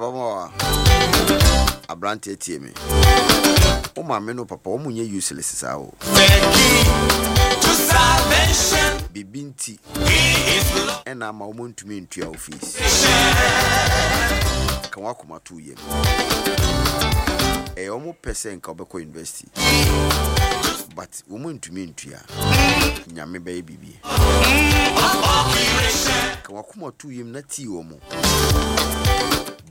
Ababaawa, aberanteɛ tie me. Wo maame ne wo papa wɔn nyɛ useless saa o. Biribi nti ɛna ama wɔn ntumi ntua wo fees. Ka w'akoma to wo yam. Ɛyɛ wɔn pɛ sɛ nka wobɛkɔ university but wɔn ntumi ntua. Nyame bɛyɛ biribi. Ka w'akoma to wo yam na tie wɔn.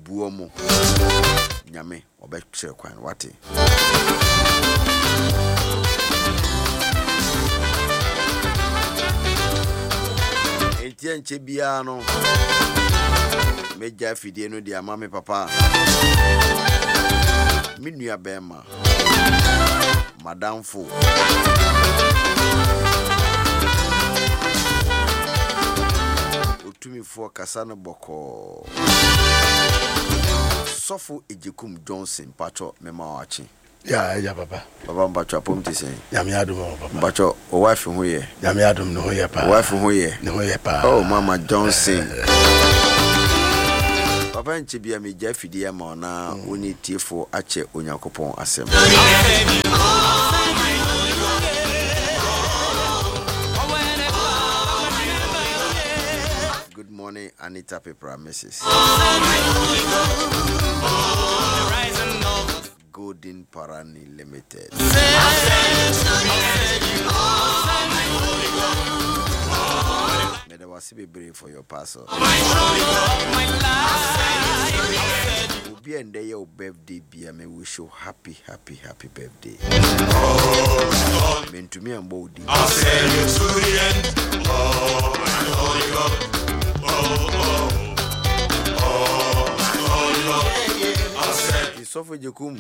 Bu wɔn. Nyame ɔbɛkyerɛ kwan wate. Enti ɛnkyɛ biara no, mɛgya afidie no de ama me papa, me nua bɛrima, madamfo. Otumifoɔ kasa no bɔkɔɔ. Sɔfo Agyekum Johnson mpakyɛ mema wo akye. Yeah agya papa. Papa mpakyɛ apom te sɛn? Nyame adom o papa. Mpakyɛ wo wife ho yɛ? Nyame adom ne ho yɛ paa. Wo wife ho yɛ? Ne ho yɛ paa. Oh mama Johnson. Papa nkyɛ bia megya afidie ama wo na wo ne tiefoɔ akyɛ Onyankopɔn asɛm. Good morning Anita Pepra Mrs. Golden Parani Limited. Meda wase bebree for your parcel. Obi a ndɛ yɛ wo birthday bia me wish you happy happy happy birthday. Mentumi ambɔ wo din. Sɔfo Agyekum,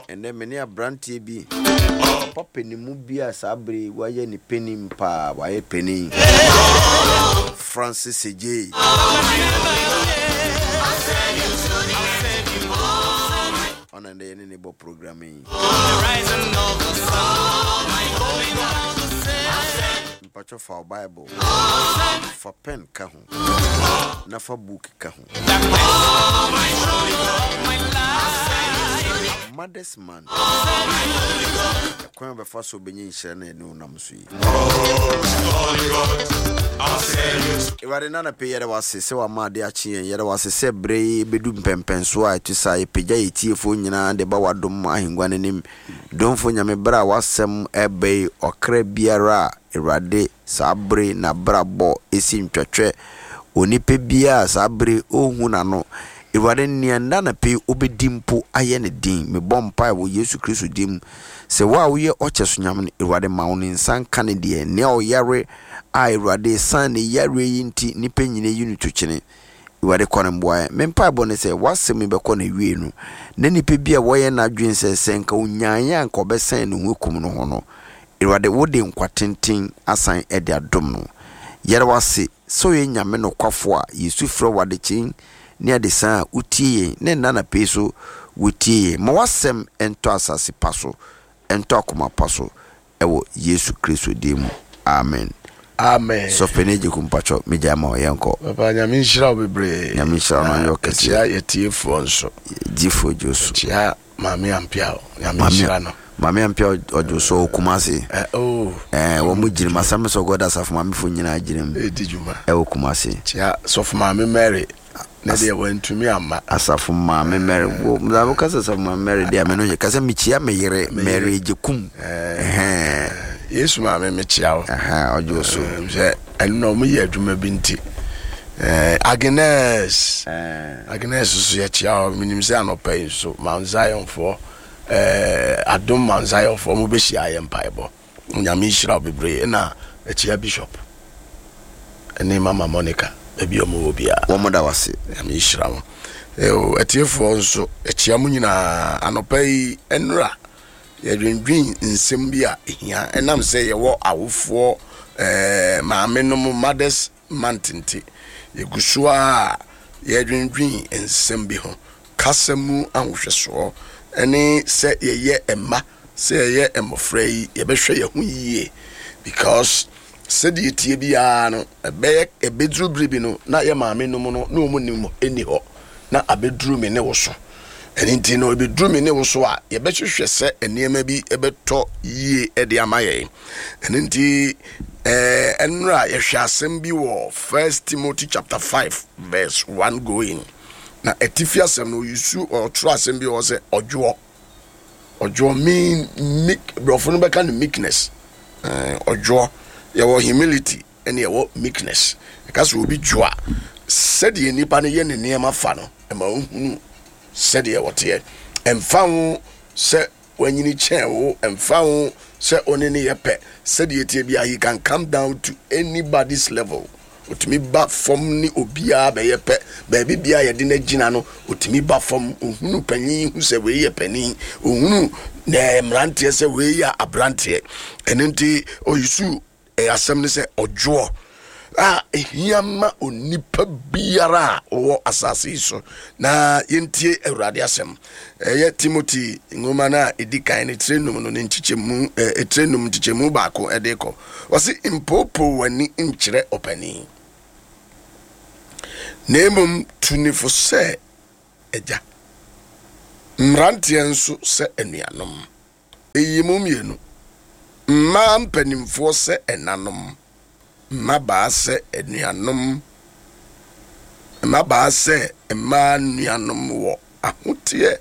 ɛnnɛ me ne aberanteɛ bi, papa panimu bi a saa bere yi wayɛ ne panin paa, wayɛ panin, Francis Adjei. Ɔna ndɛ yɛne ne bɔ program yi. Mpatwɔ fa wo Bible, fa pen ka ho, na fa book ka ho. Mothers Month. Ɛkwan a bɛfa so bɛnya nhyira na ɛne wonam so yi. Awurade na anɔpa yi yɛda wo ase sɛ wama ade akye yɛn. Yɛda wo ase sɛ berɛ yi bɛdu mpɛmpɛnsoɔ a ɛte saa. Yɛpagya yɛn tiefoɔ nyinaa de ba w'adom ahengua no anim. Domfo Nyame, berɛ a w'asɛm reba yi, ɔkra biara a Awurade saa bere n'abrabɔ si ntwɛtwɛ. Onipa biara a saa bere ɔnhu n'ano. Awurade, nea nnɛ anɔpa yi ɔbɛdi mpo ayɛ no den. Mebɔ mpae wɔ Yesu Kristo din mu sɛ wo a woyɛ ɔkyɛso Nyame no, Awurade ma wo ne nsa nka ne deɛ. Nea ɔyare a Awurade ɛsiane ne yareɛ yi nti nnipa nyina yi no tokyene. Awurade kɔ no mmoa yɛn. Me mpaebɔ ne sɛ w'asɛm yi bɛkɔ n'awiei no, na nipa bi a wɔyɛ n'adwene sɛ sɛ nka onyaeɛ a nka ɔbɛsɛn ne ho akum no ho no, Awurade wode nkwa tenten asan de adom no. Yɛda wo ase sɛ woyɛ Nyame nokwafo a yɛsu frɛ wo adekyee ne adesaa a wotie yɛn ne nna anapa yi so wotie yɛn. Ma w'asɛm ntɔ asase pa so, ɛntɔ akoma pa so ɛwɔ Yesu Kristo din mu, amen. Amen. Sɔfo Panin Agyekum mpakyɛ me gyae ma wo yɛnkɔ. Papa Nyame nhyira wo bebree. Nyame nhyira wo na ɔnyɛ wo kɛseɛ. Yɛkyia yɛtiefoɔ nso. Gyifoɔ gye wo so. Yɛkyia Maame Ampiaw, Nyame nhyira no. Maame Ampiaw ɔgye so wɔ Kumasi. Eh, oh. Eh, wɔn mo gyina mu. Assemblies of God asafo maamefo nyinaa gyina mu. Edi dwuma. Ɛwɔ Kumasi. Kyia sɔfo maame Mary. Ne deɛ wantumi amma. Asafo maame Mary. Wo na wo kasa asafo maame Mary deɛ me no yɛ kasa mekyia me yere Mary Ejekum. Eh. Yesu maame mekyia wo. Ɛhɛn ɔgye so. Sɛ ɛno na wɔn yɛ adwuma bi nti. Eh, Agnes. Eh. Agnes nso yɛkyia hɔ. Menim sɛ anɔpa yi nso Mount Zionfoɔ, eh, Adom Mount Zionfoɔ mo bɛhyia ayɛ mpaebɔ. Nyame nhyira wo bebree. Ɛna ɛkyia Bishop ɛne Mama Monica baabi a wɔn wɔ biara. Wɔn da wase. Nyame nhyira mo. Eo, atiefoɔ nso ɛkyia mo nyinaa anɔpa yi ɛnora yɛdwendwen nsɛm bi a ɛhia ɛnam sɛ yɛwɔ awofoɔ eh, maame nom mothers month nti, yɛgu so ara yɛredwendwen nsɛm bi ho, kasa mu ahohwɛsoɔ ne sɛ yɛyɛ mma, sɛ yɛyɛ mmɔfra yi, yɛbɛhwɛ yɛn ho yie because sɛdeɛ ɛteɛ biara no, ɛbɛyɛ ɛbɛduru bere bi no na yɛ maame nom no na wɔn nim nni hɔ. na abɛduru me ne wo so. Ɛno nti no, ɛbɛduru me ne wo so a, yɛbɛhwehwɛ sɛ nneɛma bi bɛtɔ yie de ama yɛn. Ɛno nti, ɛnora yɛhwɛ asɛm bi wɔ First Timothy chapter 5 verse 1 going. Na atifi asɛm no, ɔyusu ɔtwerɛ asɛm bi wɔ sɛ ɔdwoɔ. Ɔdwoɔ mean meek, borɔfo no bɛka no meekness. Ɔdwoɔ, yɛwɔ humility ɛne ɛwɔ meekness. Ɛka sɛ obi dwo a, sɛdeɛ nipa no yɛ ne nneɛma fa no, ɛma wohunu sɛdeɛ wɔteɛ. Ɛmfa ho sɛ wanyini kyɛn wo, ɛmfa ho sɛ wo ne no yɛ pɛ, sɛdeɛ ɛteɛ biara, he can come down to anybody's level. Ɔtumi ba fam ne obiara bɛyɛ pɛ. Baabi biara yɛde no agyina no, ɔtumi ba fam. Ɔhunu panin hu sɛ wei yɛ panin. Ɔhunu mmeranteɛ sɛ wei yɛ aberanteɛ. Ɛno nti, ɔyisu Asɛm ne sɛ ɔdwoɔ a ɛhia ma onipa biara a ɔwɔ asase yi so. Na yɛntie Awurade asɛm. Ɛyɛ Timothy nwoma no a ɛdi kan no tire num no ne nkyekyɛmu tire num nkyekyɛmu baako ɛde kɔ. Ɔse mpoopoo w'ani nkyerɛ ɔpanin, na mmom tu ne fo sɛ agya, mmeranteɛ nso sɛ anuanom. Eyi mu mmienu, mmaa mpanimfoɔ sɛ ɛnanom, mmabaa sɛ anuanom, mmabaa sɛ mmaa nuanom wɔ ahoteɛ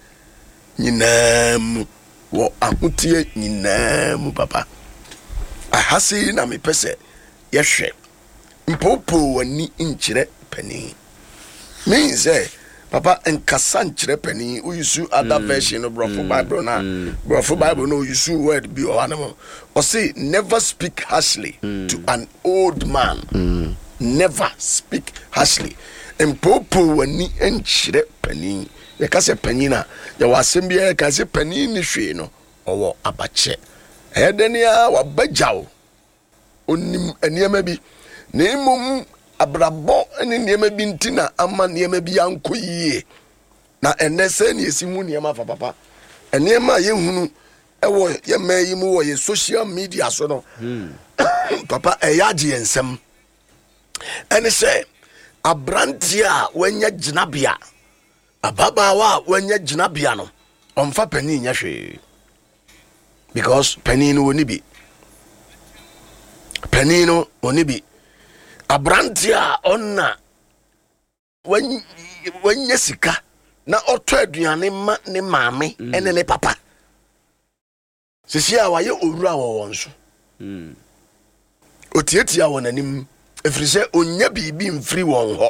nyinaa mu, wɔ ahoteɛ nyinaa mu papa. Aha sei na mepɛ sɛ yɛhwɛ. Mpoopoo w'ani nkyerɛ panin. Mean sɛ papa nkasa nkyerɛ panin. Wo use other mm. version no borɔfo mm. Bible na mm. borɔfo Bible no use word bi wɔ hɔ anam. Ɔse never speak harshly mm. to an old man. Mm. Never speak harshly. Mpoopoo w'ani nkyerɛ panin. Yɛka sɛ panin a yɛwɔ asɛm bi a yɛka sɛ panin ni hwee no ɔwɔ abakyɛ. Ɛyɛ dɛn a wabɛgyaw Ɔnim nneɛma bi, na mmom abrabɔ ne nneɛma bi nti na ama nneɛma bi ankɔ yie. Na ɛnnɛ sɛ ne yɛsi hu nneɛma fa papa. Nneɛma a yɛhunu wɔ yɛn mmaa yi mu wɔ yɛn social media so no, hmm. papa ɛyɛ agye yɛn nsam. Ɛne sɛ aberanteɛ a wanya gyinabea, ababaawa a wanya gyinabea no, ɔmfa panin nyɛ hwee. because panin no wɔni bi panin no wɔni bi aberanteɛ a ɔna wanya sika na ɔtɔ aduane ma ne maame mm. ɛne ne papa sisi a wayɛ owura wɔ wɔn so mm. Ɔtiatia wɔn anim, ɛfiri sɛ ɔnnya biribi mfiri wɔn hɔ.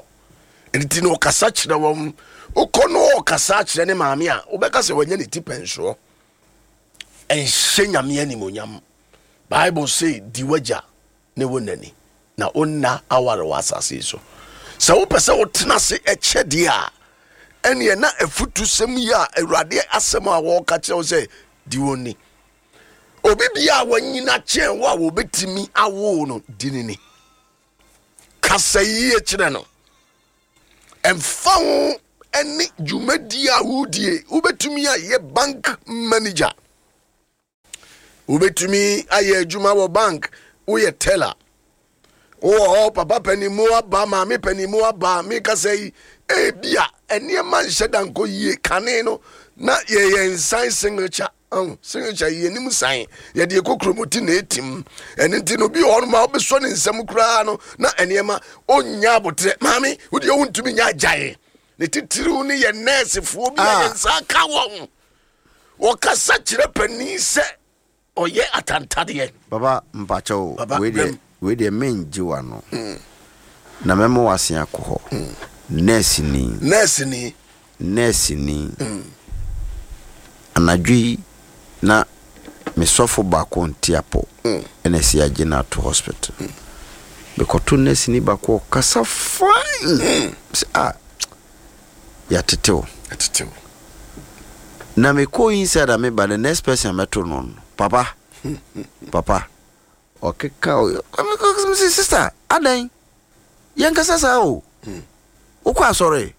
Nti na ɔkasa kyerɛ wɔn. Wokɔ no ɔkasa kyerɛ ne maame a, wobɛka sɛ wanya ne ti pɛnsoɔ. Ɛnhyɛ Nyame animonyam. Bible se di w'agya ne wo nani na wo nna aware wɔ asase yi so. Sɛ wopɛ sɛ wotena ase ɛkyɛ deɛ a, ɛneɛ na afutusɛm yi a Awurade asɛm a wɔreka kyerɛ wo sɛ di wɔn ni. Obi bia a wanyina kyɛn wo a wɔbɛtumi awo no di ne ni. Kasa yie kyerɛ no. Ɛmfa ho ne dwumadie a wodie, wobɛtumi ayɛ bank manager. Wobɛtumi ayɛ adwuma wɔ bank, woyɛ teller. Wowɔ hɔ papa panin mu aba, maame panin mu aba, mekasa yi, ebia nneɛma nhyɛ da nkɔ yie kane no na yɛyɛ nsan signature Ahu, signature yi anim san yɛde ɛkɔ kuromoti na ɛtim ɛno nti no obi wɔ hɔnom a wobɛsɔ ne nsam koraa no na nneɛma ɔnnya aboterɛ maame wodeɛ wontumi nya agyae ne titiriw ne yɛ nɛɛsefoɔ bi a ah. yɛn nsa ka wɔn wɔkasa kyerɛ panin sɛ ɔyɛ atantadeɛ Baba mpakyɛw wei deɛ wei deɛ mengye w'ano mm. na mɛma w'ase akɔ hɔ mm. nɛɛseni nɛɛseni Nɛɛseni. Anadwo yi na me sɔfo baako nte apɔ na ɛsɛ yɛagye no ato hospital. Mekɔto nɛɛseni baako ɔkasa fine. Sɛ ah yɛatete wo. Yɛatete wo. Na mekɔ inside a meba the next person a mɛto no no papa papa ɔkeka o sister adɛn yɛnkasa saa o wokɔ asɔre.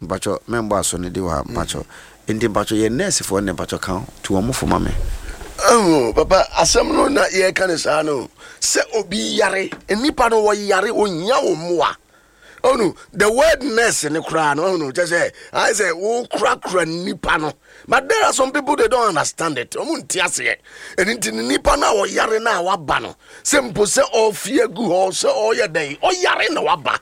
Mpakyɛw mɛnbɔ aso no di hɔ a mpakyɛw nti mpakyɛw yɛ nurse foɔ no mpakyɛw ka tu wɔn fo ma me. Oh, papa asɛm no na yɛka no saa no sɛ obi yare nnipa no wɔyare ohia wo mmoa. Ɔnu the word nurse ne koraa no ɔnu kyɛ sɛ ayɛ sɛ wokorakora nipa no but there are some people they don't understand it. Ɔmo nte aseɛ. Ɛno nti ne nipa no a ɔyare no a waba no sɛ mpo sɛ ɔfi agu hɔ sɛ ɔyɛ dɛn ɔyare na waba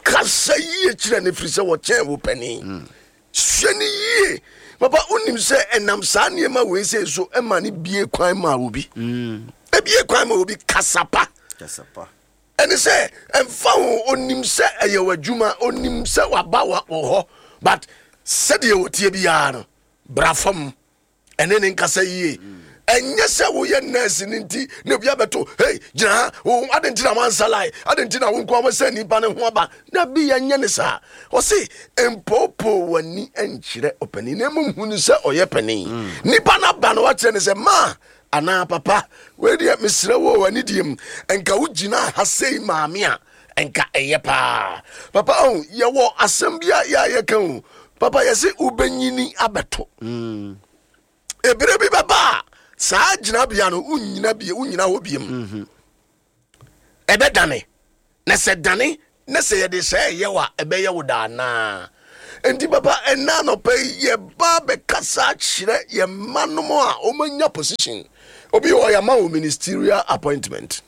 kasa yie kyerɛ no firi sɛ wɔkyɛn wo panin. Sua no yie. Papa wonim sɛ ɛnam saa nneɛma wei sei so ɛma no bie kwan ma obi. Ebie kwan ma obi kasa pa. Kasa pa. Ɛne sɛ ɛmfa ho onim sɛ ɛyɛ w'adwuma, onim sɛ waba wɔ hɔ but sɛdeɛ wɔtie biara no bra fam ɛne ne nkasa yie. Ɛnyɛ sɛ woyɛ nurse no nti na obi abɛto hey gyina ha wo ade nti na wansa line ade nti na wo nko awɔ sɛ nipa ne ho aba dabi yɛnyɛ ne saa. Ɔse mpoopoo w'ani nkyerɛ ɔpanin na mmom hu no sɛ ɔyɛ panin. Nipa no aba no wakyerɛ ne sɛ ma anaa papa wei deɛ mesrɛ wo wɔ anidie mu nka wogyina ha sei maame a nka ɛyɛ paa. Papa oh, yɛwɔ asɛm bi a yɛ a yɛka o papa yɛse wobɛnyini abɛto. Ebere bi bɛba a saa gyinabea no wonnyina bie wonnyina hɔ biem. Ɛbɛdane na sɛ dane na sɛ yɛde sɛ ɛyɛ wa ɛbɛyɛ wo daa naa. Nti papa ɛna anɔpa yi yɛba bɛkasa kyerɛ yɛn mma nom a wɔanya position. Obi wɔ yɛama wo ministerial appointment.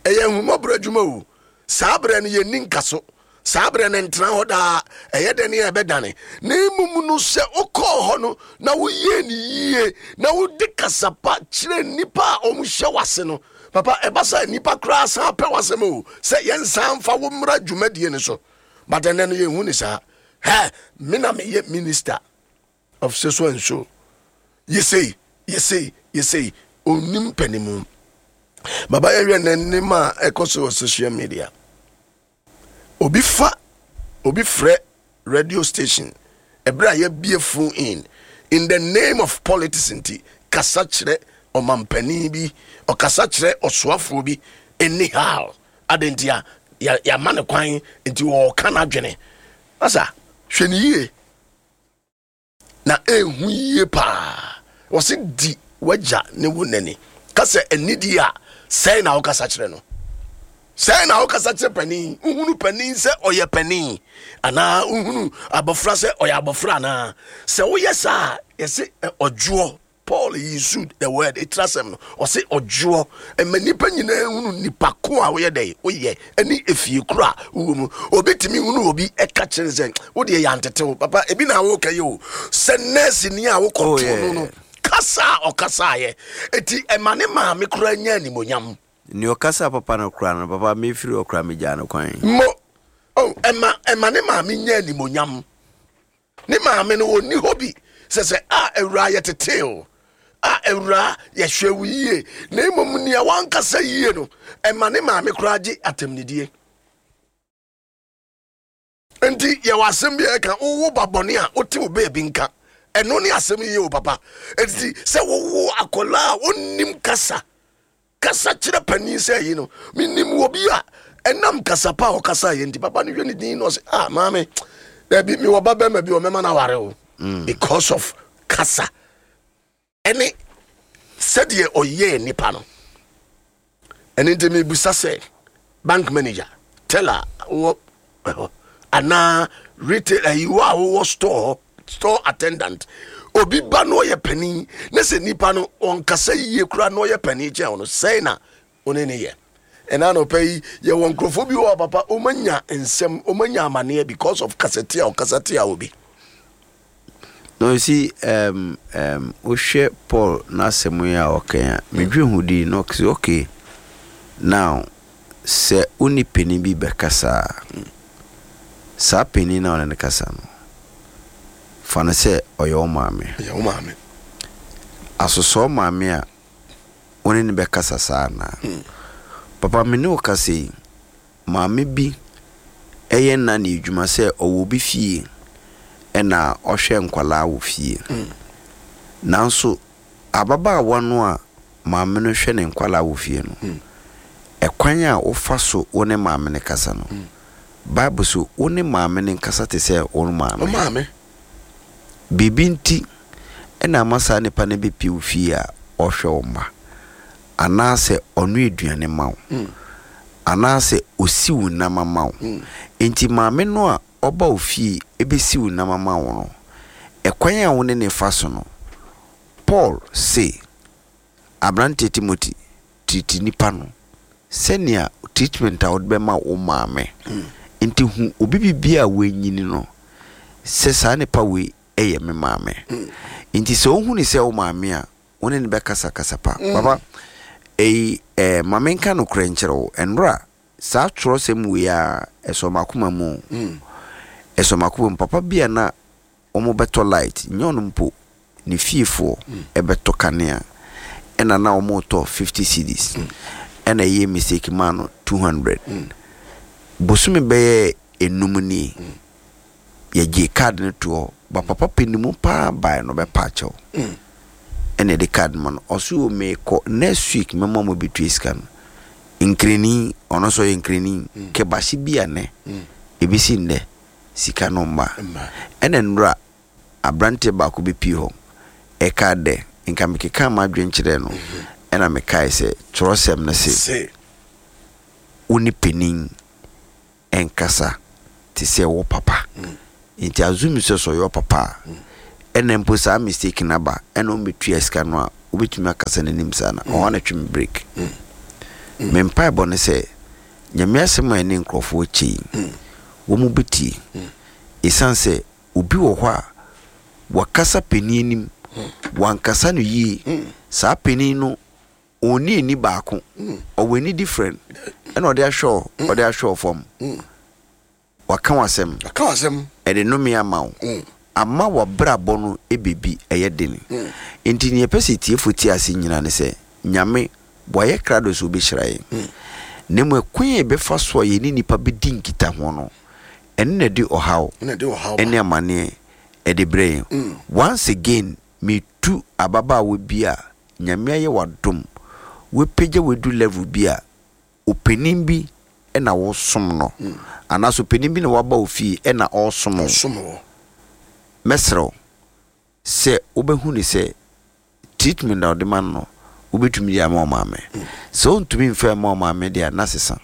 Ɛyɛ ahummɔborɔ adwuma o. Saa berɛ no yɛnni nkaso. Saa berɛ no ntena hɔ daa. Ɛyɛ dɛn a ɛbɛdane. Na mmom no sɛ wokɔɔ hɔ no na woyɛɛ no yie na wode kasa pa kyerɛ nnipa a wɔhyɛ w'ase no, papa ɛba sɛ nnipa koraa san pɛ w'asɛm o sɛ yɛnsan mfa wo mmra dwumadie no so. But ɛnɛ no yɛnhu ne saa. Hɛ, me na meyɛ minister of so so and so. Yɛsei, yɛsei, yɛsei. Ɔnnim panimu. Baba yɛhwɛ nnɛ nneɛma a ɛkɔ so wɔ social media. Obi fa, obi frɛ radio station ɛberɛ a yɛabie phone in in the name of politics nti kasa kyerɛ ɔmampanin bi, ɔkasa kyerɛ ɔsoafoɔ bi anyhow. Adɛn nti a yɛama no kwan nti ɔɔka n'adwene. Masa, hwɛ ne yie. Na ɛhu yie paa. Wɔse di w'agya ne wo nani. Ka sɛ anidie a, sɛn na wokasa kyerɛ no? Sɛn na wokasa kyerɛ panin? Wohunu panin sɛ ɔyɛ panin anaa wohunu abɔfra sɛ ɔyɛ abɔfra anaa? Sɛ woyɛ saa a, yɛse ɔdwoɔ. Paul used the word etiri asɛm no, ɔse ɔdwoɔ. Ɛma nnipa nyinaa hunu nipa ko a woyɛ dɛn woyɛ ɛne efie koro a wowɔ mu. Obi tumi hunu obi ɛka kyerɛ no sɛ wo deɛ yɛantete wo papa, ebi na woka yi o, sɛ nurse ni a wokɔtoo no no kasa a ɔkasaeɛ eti ɛma ne maame koraa nya animonyam. Nea ɔkasa papa no koraa no papa mefiri hɔ koraa megyaa no kwan. Mo oh ɛma ɛma ne maame nya animonyam. Ne maame no ɔnni hɔ bi sɛ sɛ a awuraa yɛtetee o a awuraa yɛhwɛ wo yie na mmom nea wankasa yie no ɛma ne maame koraa gye atɛmnidie. Nti yɛwɔ asɛm bi a ɛka wowo ba bɔne a wote wo baabi nka ɛno ne asɛm yie o papa. Nti sɛ wowo akwadaa a ɔnnim kasa Kasa kyerɛ panin sɛ yi no menim wɔ bi a ɛnam kasa pa a ɔkasa yɛ nti papa no hwɛ ne din na ɔsɛ ah maame dabi mewɔ ba bɛrima bi ɔmɛma no aware o because of kasa ɛne sɛdeɛ ɔyɛɛ nipa no. Ɛno nti mebusa sɛ bank manager, teller wɔ hɔ anaa retail ayi wɔ a wowɔ store hɔ store attendant obi ba na ɔyɛ panin na sɛ nipa no ɔnkasa yie koraa na ɔyɛ panin kyɛn no sɛn na ɔne ne yɛ. Ɛna anɔpa yi yɛwɔ nkurɔfoɔ bi wɔ papa ɔmanya nsɛm ɔmanya amaneɛ because of kasatia ɔkasa tia obi. No, you see, um, um, wohwɛ Paul n'asɛm yi a ɔka yi a, medwe ho di na ɔka okay, now, sɛ wo ne panin bi bɛkasa a, saa panin no a ɔne no kasa no, fa no sɛ ɔyɛ wo maame. Ɔyɛ wo maame. Asosɔ wo maame a, wo ne no bɛkasa saa anaa? Papa, me ne wo kasa yi, maame bi yɛ nanny adwuma sɛ ɔwɔ obi fie na ɔhwɛ nkwadaa wɔ fie. Nanso ababaawa no a maame no hwɛ ne nkwadaa wɔ fie no, ɛkwan a wofa so wo ne maame no kasa no, Bible so wo ne maame no nkasa te sɛ wo maame. Wo maame. Biribi nti na ama saa nipa no bɛpie wo fie a ɔhwɛ wo mma, anaasɛ ɔnoa aduane ma wo. Anaasɛ ɔsi wo nam ama wo. Enti maame no a ɔba wo fie bɛsi wo nam ama wo no, ɛkwan a wo ne no fa so no, Paul se, Aberanteɛ Timothy, treat nipa no sɛnea treatment a wode bɛma wo maame. Nti hu obi biribiara a wanyini no sɛ saa nipa wei yɛ me maame. Nti sɛ wohu no sɛ wo maame a, wo ne no bɛkasa kasa pa. Papa, eyi eh, ma menka nokorɛ nkyerɛ wo, ɛnora saa twerɛsɛm wei ara, ɛsɔ m'akoma mu o. Ɛsɔ m'akoma mu. Papa bi a na wɔbɛtɔ light, nyɛ ɔno mpo, ne fiefoɔ bɛtɔ kanea, ɛna na wɔretɔ 50 cedis, ɛna ɛyɛɛ mistake maa no 200. Bosome bɛyɛ enum nie, yɛgyee card no too hɔ, ba papa panimu paa baeɛ no ɔbɛpa akyɛw, ɛna yɛde card no ma no, ɔse o meekɔ next week mɛma mo abɛtua sika no. Nkrani, ɔno nso ɔyɛ nkrani, kɛbahye bi a nnɛ, ɛbɛsi nnɛ, sika no mma. Ɛna nnora abranteɛ baako bi pii hɔ, ɛkaa dɛ, nka mekekaa m'adwene kyerɛɛ no, ɛna mekae sɛ, twerɛsɛm no se, wo ne panin nkasa te sɛ wo papa. Nti assume sɛ sɛ ɔyɛ wo papa a, ɛna mpo saa mistake no aba, ɛna ɔmmɛtua sika no a, wobɛtumi akasa n'anim saa na ɔhɔ na twe me break. Me mpaebɔ ne sɛ, Nyame asɛm a ɛne nkurɔfoɔ kyɛ yi, wɔn bɛtie. Ɛsiane sɛ obi wɔ hɔ a, wakasa panin anim, wankasa no yie, saa panin no ɔnni ani baako, ɔwɔ ani different, ɛna ɔde ahwɛ wo, ɔde ahwɛ wo fam. Waka w'asɛm. Waka w'asɛm. Ɛde nnome ama wo. Ama w'abrabɔ no baabi ɛyɛ den. Enti nea yɛpɛ sɛ atiefo te ase nyinaa ne sɛ, Nyame, wayɛ krado sɛ obehyira yɛn. Na mmom ɛkwan a yɛbɛfa so a yɛne nnipa bedi nkitaho no, ɛno na ɛde ɔhaw ne amaneɛ ɛde brɛ yɛn. Once again, metu ababaawa bi a Nyame ayɛ w'adom, wapagya wo adu level bi a, ɔpanin bi na wosom no anaasɛ ɔpanin bi na waba wo fie na ɔresom wo, mɛsrɛ wo sɛ wobɛhu no sɛ treatment a wode ma no no, wobɛtumi de ama wo maame. Sɛ wontumi mfa mma wo maame deɛ a, na sesa.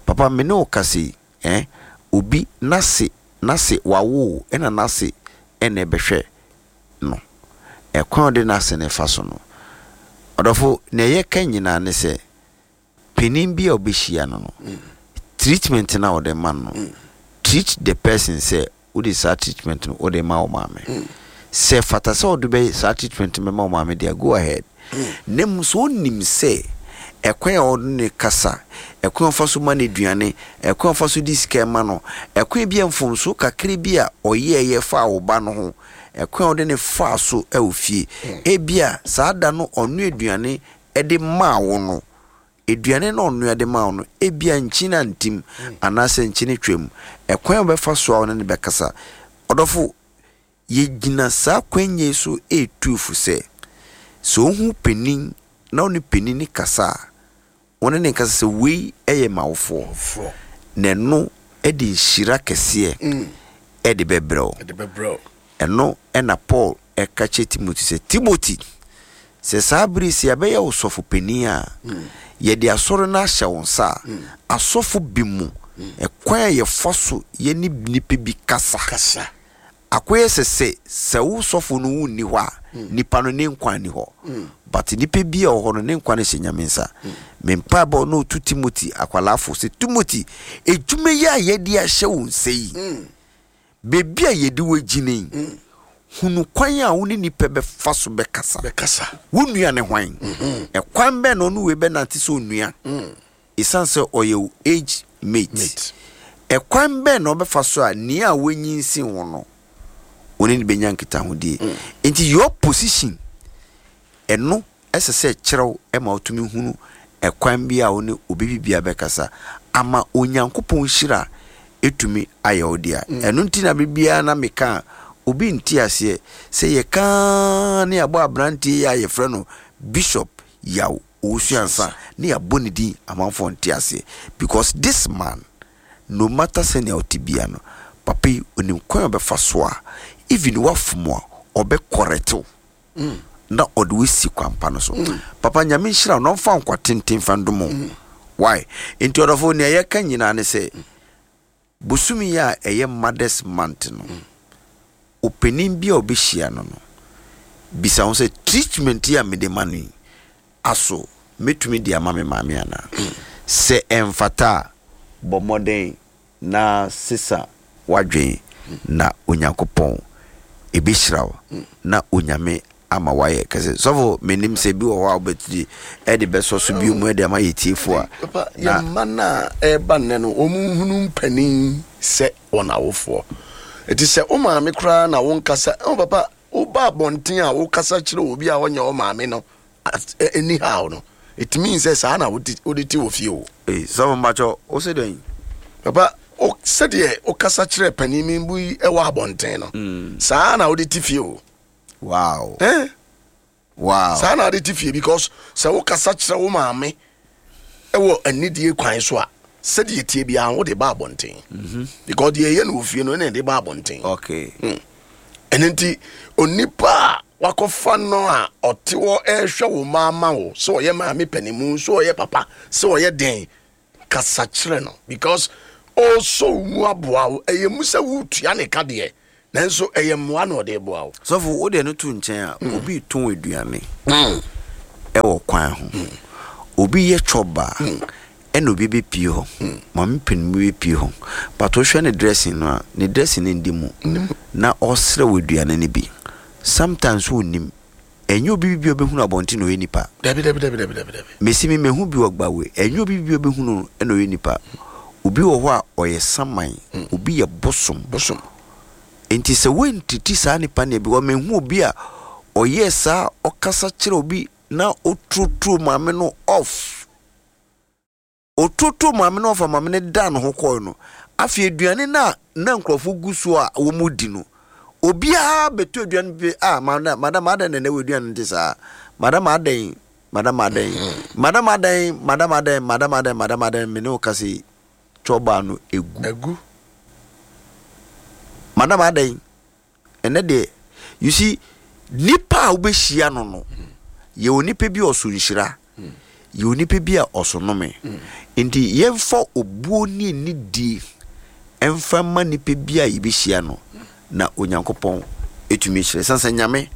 Papa, me ne wo kasa yi, eh, obi n'ase, n'ase, wawo o, ɛna n'ase na ɛbɛhwɛ no. Ɛkwan a ɔde n'ase no fa so no. Ɔdɔfo, nea yɛka nyinaa ne sɛ, panin bi a ɔbɛhyia no no, treatment no a ɔde ma no no, treat the person sɛ wode saa treatment no wode ma wo maame. Sɛ fata sɛ ɔde bɛ saa treatment no bɛma wo maame deɛ, go ahead. Na mmom sɛ ɔnim sɛ ɛkwan a ɔde ne kasa, ɛkwan a ɔfa so ma no aduane, ɛkwan a ɔfa so de sika ma no, ɛkwan bi a mfomso kakra bi a ɔyɛɛyɛ faa wo ba no ho, ɛkwan a ɔde ne faa so wɔ fie, ebia saa da no ɔnoa aduane de maa wo no, aduane no a ɔnoa de maa wo no, ebia nkyene antim anaasɛ nkyene twam. Ɛkwan a wobɛfa so a wo ne no bɛkasa. Ɔdɔfo, yɛgyina saa kwan yi so retu fo sɛ, sɛ wohu panin na wo ne panin no kasa a, Wo ne no nkasa sɛ, Wei yɛ m'awofoɔ, na ɛno de nhyira kɛseɛ de bɛbrɛ wo. Ɛno na Paul ka kyerɛ Timothy sɛ, Timothy, sɛ saa bere yi sɛ yɛabɛyɛ wo sɔfo panin a, yɛde asɔre no ahyɛ wo nsa a, asɔfo bi mu, ɛkwan a yɛfa so yɛne nnipa bi kasa. Akɔyɛ sɛ sɛ sɛ wo sɔfo no wo nni hɔ a nipa no ne nkwa nni hɔ but nipa bi a ɔwɔ hɔ no ne nkwa no hyɛ Nyame nsa. Me mpaebɔ na ɔtu Timothy akwadaa fo sɛ Timothy adwuma yi a yɛde ahyɛ wo nsa yi baabi a yɛde wo agyina yi hunu kwan a wo ne nipa bɛfa so bɛkasa. Wo nua ne hwan? Ɛkwan bɛn na ɔne wei bɛnante sɛ onua? Esiane sɛ ɔyɛ wo age mate, ɛkwan bɛn na ɔbɛfa so a nea wanyinsen wo no, wo ne no bɛnya nkitahodie? Nti your position, ɛno ɛsɛ sɛ ɛkyerɛ wo ma wotumi hunu ɛkwan bi a wo ne obi bibia bɛkasa ama Onyankopɔn nhyira ɛtumi ayɛ wo dea. Ɛno nti na bere biara na meka a, obi nte aseɛ sɛ yɛka ne yɛabɔ aberanteɛ yi a yɛfrɛ no Bishop Yaw Owusu ansa ne yɛabɔ ne din amanfoɔ nte aseɛ because this man no matter sɛnea ɔte bia no papa yi onim kwan a ɔbɛfa so a even wafom a ɔbɛ correct wo na ɔde wo asi kwan pa no so. Papa Nyame nhyira wo na ɔmfa nkwa tenten mfa ndom wo. Why? Nti ɔdɔfo nea yɛka nyinaa ne sɛ bosome yi a ɛyɛ Mothers Month no, ɔpanin bi a ɔbɛhyia no no, bisa ho sɛ treatment yi a mede ma no yi, aso mɛtumi de ama me maame anaa? Sɛ ɛmfata a, bɔ mmɔden na sesa w'adwen na Onyankopɔn ɛbɛhyira wo na Onyame ama wayɛ kɛse. Sɔfo menim sɛ bi wɔ hɔ a wobɛtumi ɛde bɛsɔ so bio mu ɛde ama yɛ tiefo a. Papa, yɛn mma no a ɛreba nnɛ no, wɔn nhunu mpanin sɛ wɔn awofoɔ. Ɛti sɛ wo maame koraa na wonkasa, oh papa, woba abɔnten a wokasa kyerɛ obi a ɔnyɛ wo maame no anyhow no, it means sɛ saa na wode te wɔ fie o. Ee, sɔfo mpakyɛ wo se dɛn? Papa, sɛdeɛ wokasa kyerɛ panin bi wɔ abɔnten no, mm. saa na wode te fie o. Wow. Eh? Wow. Saa na ade te fie because sɛ wokasa kyerɛ wo maame wɔ anidie kwan so a sɛdeɛ tie biara wode ba abɔnten. Mhm. Because deɛ ɛyɛ no wɔ fie no ɛna ɛde ba abɔnten. Okay. Mm. Ɛno nti onipa a wakɔfa no a ɔte hɔ ɛrehwɛ wo mma ama wo sɛ ɔyɛ maame panimu sɛ ɔyɛ papa sɛ ɔyɛ den kasa kyerɛ no because ɔresɔ wo mu aboa wo ɛyɛ mu sɛ woretua ne ka deɛ nanso ɛyɛ mmoa na ɔde reboa wo. Sɔfo wo deɛ no to nkyɛn a mm. obi retɔn aduane mm. ɛwɔ kwan ho mm. obi yɛ chɔba ɛna obi bɛpie hɔ maame panin bi bɛpie hɔ but wohwɛ ne dressing no a ne dressing no ndi mu na ɔsrɛ wɔ aduane no bi sometimes wonnim Ɛnyɛ obi bi a ɔbɛhunu abɔnten na ɔyɛ nipa. Dabi dabi dabi dabi dabi dabi. Mesi me mahu bi wɔ Gbawe. Ɛnyɛ obi bi a ɔbɛhunu no na ɔyɛ nipa. Obi wɔ hɔ a ɔyɛ saman, obi yɛ bosom. Bosom. Nti sɛ woantiti saa nipa no because mehu obi a ɔyɛɛ saa ɔkasa kyerɛ obi na ɔturoturo maame no off. Ɔtoto maame no ɔfa maame no daa ne ho kɔe no, afei aduane no a na nkurɔfo gu so a wɔredi no, obiara bɛtɔ aduane bi a madam, madam adɛn na ɛnɛ wɔ aduane no te saa? Madam adɛn, madam adɛn, madam adɛn, madam adɛn, madam adɛn, madam adɛn, me ne wo kasa yi, twɔbaa no egu. Egu. Madam adɛn, Ɛnɛ deɛ you see nipa a wobɛhyia no no yɛ onipa bi a ɔso nhyira yɛ onipa bi a ɔso nome nti yɛmfa obuo ne anidie ɛmfa ma nipa bi a yɛbɛhyia no na Onyankopɔn ɛtumi hyira ɛsiane sɛ Nyame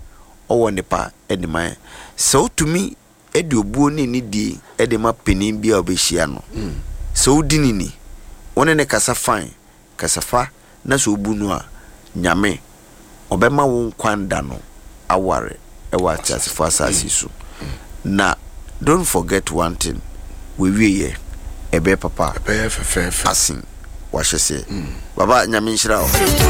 ɔwɔ nnepa de ma yɛn sɛ wotumi de obuo ne anidie de ma panin bi a wobɛhyia no sɛ wodi ne ni wo ne ne kasa fine Kasa fa na sɛ obu no a, Nyame, ɔbɛma wo nkwa nda no aware wɔ ateasefo asaase so. Na don't forget one thing, w'awieɛ ɛbɛyɛ papa Ɛbɛyɛ fɛfɛɛfɛ. asen w'ahyɛseɛ. Baba, Nyame nhyira wo.